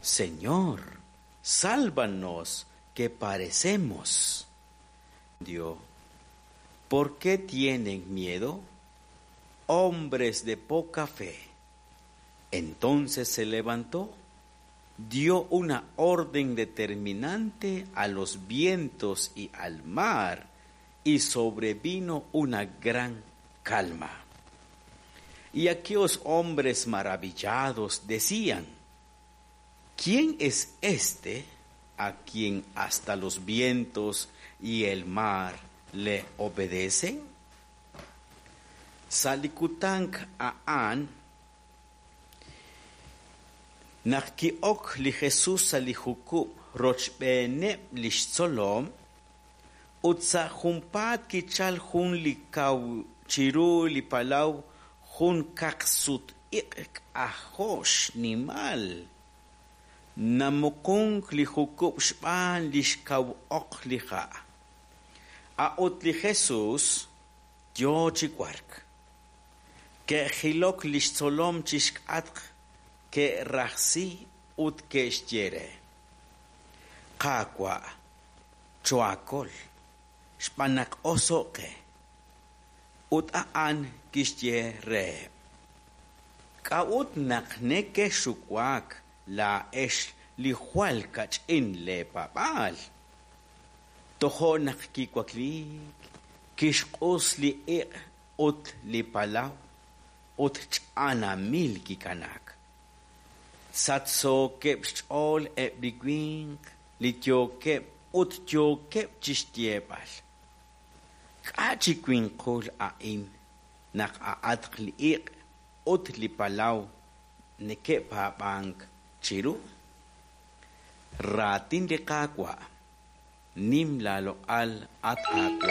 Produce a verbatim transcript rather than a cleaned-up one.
Señor, sálvanos, que perecemos. Dios, ¿por qué tienen miedo? Hombres de poca fe. Entonces se levantó, dio una orden determinante a los vientos y al mar, y sobrevino una gran calma. Y aquellos hombres maravillados decían, ¿quién es este a quien hasta los vientos y el mar le obedecen? Sa li kutan a'an naq ki'ok li Jesus sa' li jukub' rochb'eeneb' li xtzolom, ut sa' junpaat kichal jun li kaw chiru li palaw jun kaqsut-iq' k'ajo' xnimal. Namuqunk li jukub' xb'aan li xkaw oq li ha'. A'ut li Jesus yo chi wark. Ke'jilok li xtzolom chi xk'atq, ke'rajsi ut ke'xye re: Qaawa', choohaakol, xb'aan naq oso'k qe. Ut a'an kixye reheb': K'a'ut naq nekexxuwak laa'ex li jwal kach'in leepaab'aal? Tojo' naq kiwakliik, kixq'us li iq' ut li palaw, ut ch'anamil kikanaak. Sachsookeb' xch'ool eb' li winq li yookeb' ut yookeb' chi xyeeb'al: K'a' chi winqul a'in naq a'atq li iq' ut li palaw neke'paab'ank chiru? Raatin li Qaawa'. Nim laaloq'al, at Qaawa'.